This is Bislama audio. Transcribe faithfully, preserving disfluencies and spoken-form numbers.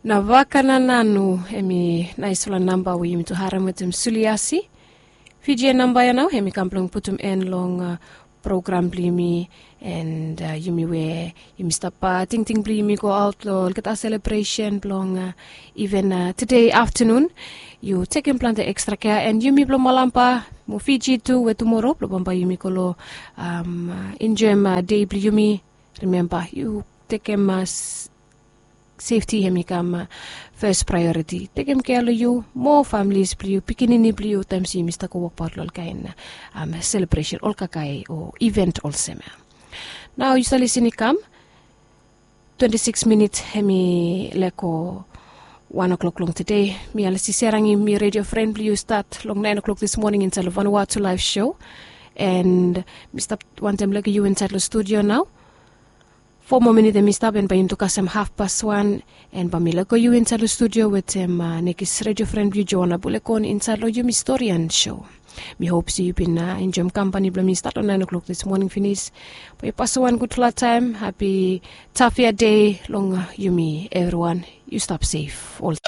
Na vaka na nanu, em i naisfala namba we yumi tu harem wetem suliasi. Fiji ya namba ya nao em i kam blong putum en long program blong yumi. And yumi we yumi stap tingting blong yumi go aut long olgeta selebresen blong iven tude aftanun, yu tekem plante ekstra kea. And yumi blong malamba mo Fiji tu we tumoro blong bambae yumi go long enjoem dei blong yumi. Rimemba yu tekem sefti hem i kam fes praeoriti. Tekem kea long yu mo familis blong yu, pikinini blong yu taem se yumi stap go wokbaot long ol kaen selebresen ol kakae o iven olsem ya. Nao yu save lisin i kam twenti sikis minit hem i lego wan oklok long tude. Mi alesi serangim mi redio fren blong yu stat long naen oklok dis moning insaed long vanua tu laef sho. And mi stap wantem lego yu insaed long studio nao. Fo moa minit em i stap en bae yumi tu kasem hafpas wan. En bae mi lego yu insaed long studio wetem nekis redio fren blong yu, Joana Bulekon, insaed long yumi storian sho. Mi hop se yu bin enjoem kampani blong mi stat long naen oklok dis moning finis. Bae yu pasem wan gudfala taem, hapi tafia dei long yumi evriwan. Yu stap sef ol